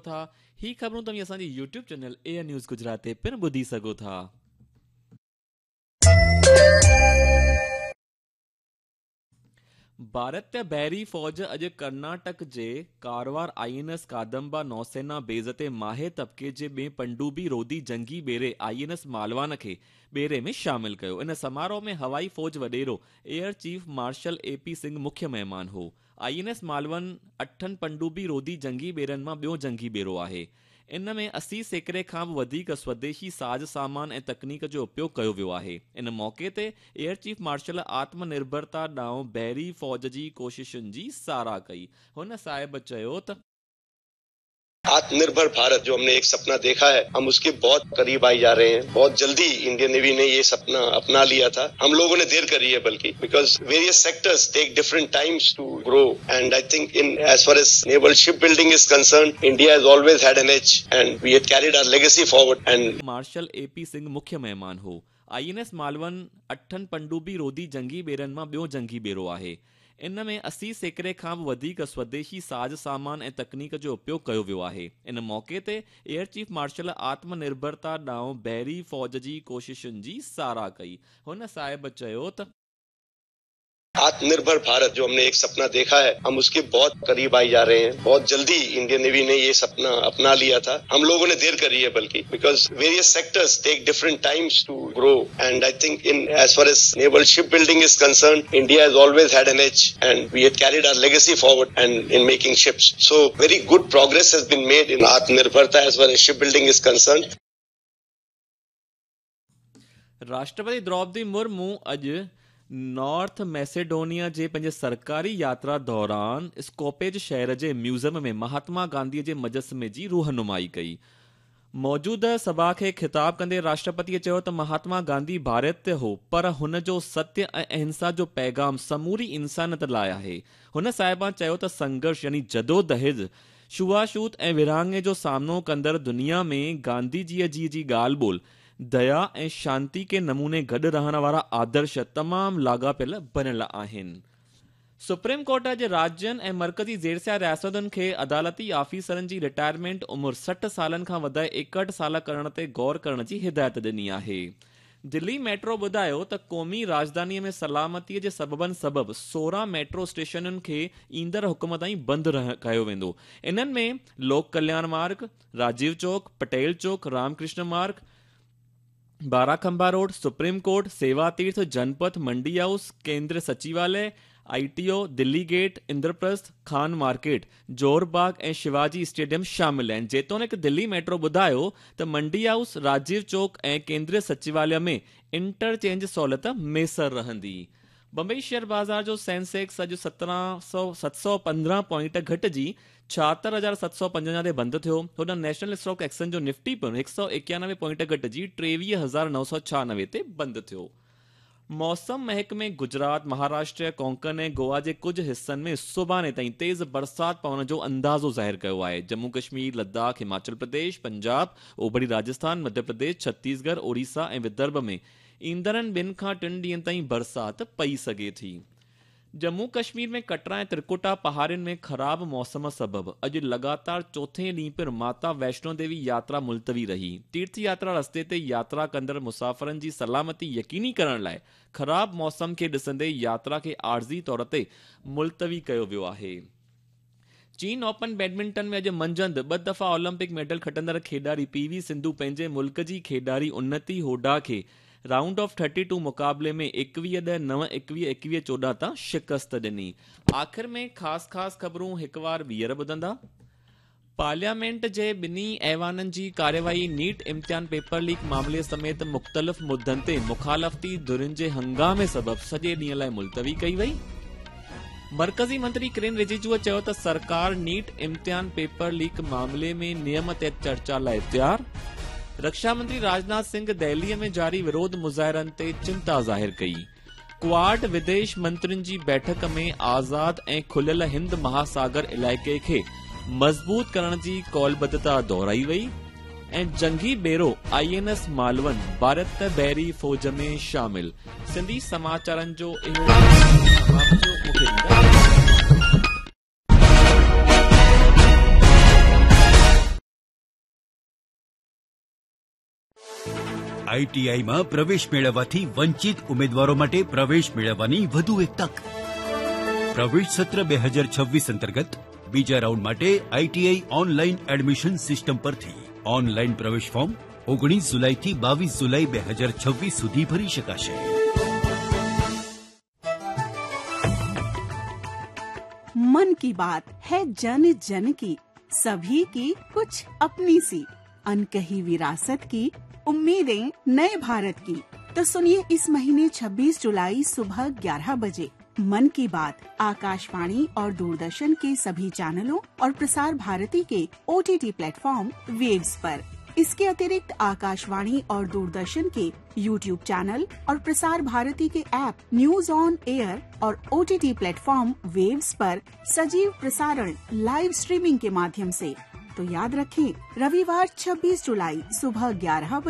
ٿا. هي خبرون توهين اسان جي YouTube channel A N news Gujarat تي پڻ ٻڌي سگهو ٿا. ڀارتي بحري فوج اڄ ڪرناٽڪ جي Karwar I N S Kadamba نوسينا بيس تي ماهي طبقي جي ٻئي پنڊوبي روڌي جنگي ٻيڙي I N S Malvan کي ٻيڙي ۾ شامل ڪيو. ان سماروهه ۾ هوائي فوج وڏيرو air chief marshal A P Singh مکيه مهمان هو. I N S Malvan اٺن پنڊوبي روڌي جنگي ٻيڙن مان ٻيو جنگي ٻيڙو آهي. ان ۾ 80% کان به وڌيڪ سوديشي ساز سامان ۽ تڪنيڪ جو اپيوگ ڪيو ويو آهي. ان موقعي تي ايئر چيف مارشل آتم نرڀرتا ڏانهن بحري فوج جي ڪوششن جي ساراهه ڪئي. هن صاحب چيو ته. آتم نرڀر ڀارت جو هم ني ايڪ سپنا ديکا هي هم اس ڪي بهت قريب آئي جا رهي هين بهت جلدي انڊين نيوي ني يي سپنا اپنا ليا ٿا هم لوگون ني دير ڪري هي بلڪه because various sectors take different times to grow and I think in as far as naval ship building is concerned India has always had an edge and we had carried our legacy forward and. Marshal A P Singh مکيه مهمان هو. I N S Malvan اٺن پنڊوبي روڌي جنگي ٻيڙن مان ٻيو جنگي ٻيڙو آهي. ان ۾ 80% کان به وڌيڪ سوديشي ساز سامان ۽ تڪنيڪ جو اپيوگ ڪيو ويو آهي. ان موقعي تي ايئر چيف مارشل آتم نرڀرتا ڏانهن بحري فوج جي ڪوششن جي ساراهه ڪئي. هن صاحب چيو ته. آتم نرڀر ڀارت جو هم ني ايڪ سپنا ديکا هي هم اس ڪي بهت قريب آئي جا رهي هين بهت جلدي انڊين نيوي ني يي سپنا اپنا ليا ٿا هم لوگون ني دير ڪري هي بلڪه because various sectors take different times to grow and I think in as far as naval ship building is concerned India has always had an edge and we had carried our legacy forward and in making ships so very good progress has been made in Atma Nirbharta as far as ship building is concerned. Rashtrapati Droupadi Murmu اڄ north Macedonia جي پنهنجي سرڪاري ياترا دوران اسڪوپيج شهر جي museum ۾ Mahatma Gandhi جي مجسمي جي روحنمائي ڪئي. موجوده سڀا کي خطاب ڪندي راشٽرپتي چيو ته مهاتما گانڌي ڀارتي هو پر هن جو ستيه ۽ اهنسا جو پيغام سموري انسانيت لاء آهي. هن صاحبان چيو ته سنگهرش يعني جدوجهد، ڇوهاڇوت ۽ ورهاڱي جو سامنو ڪندڙ دنيا ۾ گانڌي جي جي ڳالهه ٻولهه، ديا ۽ شانتي ڪي نموني گڏ رهڻ وارا آدرش تمام لاڳاپيل بڻيل آهن. سپريم ڪورٽ اڄ راجين ۽ مرڪزي زيرسيا رياستن کي عدالتي آفيسرن جي رٽائرمينٽ عمر 60 سالن کان وڌائي 61 سال ڪرڻ تي غور ڪرڻ جي هدايت ڏني آهي. دلي ميٽرو ٻڌايو ته قومي راڄڌاني ۾ سلامتي جي سببن سبب 16 ميٽرو اسٽيشنن کي ايندڙ حڪم تائين بند ڪيو ويندو. انهن ۾ لوڪ ڪلياڻ مارگ، راجيو چوڪ، پٽيل چوڪ، رام ڪرشن مارگ، بارا کنڀا road, supreme court, Seva Tirth, Janpath, Mandi house, Kendriya Sachivalaya, I T O, Delhi gate, Indraprastha, Khan market, Johar Bagh ۽ Shivaji stadium شامل آهن. جيتوڻيڪ دلي ميٽرو ٻڌايو ته منڊي هائوس، راجيو چوڪ ۽ ڪيندريه سچيواليه ۾ انٽرچينج سهولت ميسر رهندي. بمبئي شيئر بازار جو سينسيڪس اڄ 715 پوائنٽ گهٽجي 76755 تي بند ٿيو. هوڏانهن نيشنل اسٽاڪ ايڪسچينج جو نفٽي پڻ 191 پوائنٽ گهٽجي 23996 تي بند ٿيو. موسم محڪمي گجرات، مهاراشٽر، ڪونڪن ۽ گوا جي ڪجهه حصن ۾ سڀاڻي تائين تيز برسات پوڻ جو اندازو ظاهر ڪيو آهي. ڄمون ڪشمير، لداخ، هماچل پرديش، پنجاب، اوڀري راجسٿان، مڌيه پرديش، ڇتيسڳڙهه، اوڙيسا ۽ ودرڀ ۾ ايندڙن ٻن کان ٽن ڏينهن تائين برسات پئي سگهي ٿي. ڄمون ڪشمير ۾ ڪٽرا ۽ ترڪٽا پهاڙين ۾ خراب موسم سبب اڄ لڳاتار چوٿين ڏينهن پڻ ماتا ويشنو ديوي ياترا ملتوي رهي. تيرٿ ياترا رستي تي ياترا ڪندڙ مسافرن جي سلامتي يقيني ڪرڻ لاء خراب موسم کي ڏسندي ياترا کي عارضي طور تي ملتوي ڪيو ويو آهي. چين اوپن بيڊمنٽن ۾ اڄ منجهند ٻه دفعا اولمپڪ ميڊل کٽندڙ کيڏاري پي وي سنڌو پنهنجي ملڪ جي کيڏاري انتي هوڊا کي رائونڊ آف ٿرٽي ٽو مقابلي ۾ 21 10 9 21 21 14 تان شڪست ڏني. آخر ۾ خاص خاص خبرون هڪ وار ٻيهر ٻڌندا. پارليامينٽ جي ٻنهي ايوانن جي ڪارروائي نيٽ امتحان پيپر ليڪ معاملي سميت مختلف مدن تي مخالفتي ڌرين جي هنگامي سبب سڄي ڏينهن لاء ملتوي ڪئي وئي. مرڪزي منتري ڪرين رجيجوء چيو ته سرڪار نيٽ امتحان پيپر ليڪ معاملي ۾ نيم تحت چرچا لاء تيار. رڪشا منتري راجناٿ سنگهه دهليء ۾ جاري وروڌ مظاهرن تي چنتا ظاهر ڪئي. ڪواڊ وديش منترين جي بيٺڪ ۾ آزاد ۽ کليل هند مهاساگر علائقي کي مضبوط ڪرڻ جي قولبڌتا دهرائي وئي ۽ جنگي ٻيڙو I N S Malvan Bharat بحري فوج ۾ شامل. سنڌي سماچارن جو اهو سماپت ٿيو. مون کي ڏيندا. આઈટીઆઈમાં પ્રવેશ મેળવવાથી વંચિત ઉમેદવારો માટે પ્રવેશ મેળવવાની વધુ એક તક. પ્રવેશ સત્ર 2026 અંતર્ગત બીજા રાઉન્ડ માટે આઈટીઆઈ ઓનલાઈન એડમિશન સિસ્ટમ પરથી ઓનલાઈન પ્રવેશ ફોર્મ 19 જુલાઈથી 22 જુલાઈ 2026 સુધી ભરી શકાશે. मन की बात है जन जन की, सभी की कुछ अपनी सी अनकही विरासत की उम्मीदें नए भारत की। तो सुनिए इस महीने 26 जुलाई सुबह 11 बजे मन की बात आकाशवाणी और दूरदर्शन के सभी चैनलों और प्रसार भारती के ओटीटी प्लेटफॉर्म वेव्स पर। इसके अतिरिक्त आकाशवाणी और दूरदर्शन के यूट्यूब चैनल और प्रसार भारती के ऐप न्यूज ऑन एयर और ओटीटी प्लेटफॉर्म वेव्स पर सजीव प्रसारण लाइव स्ट्रीमिंग के माध्यम से। तो याद रखें, रविवार 26 जुलाई सुबह 11 बजे।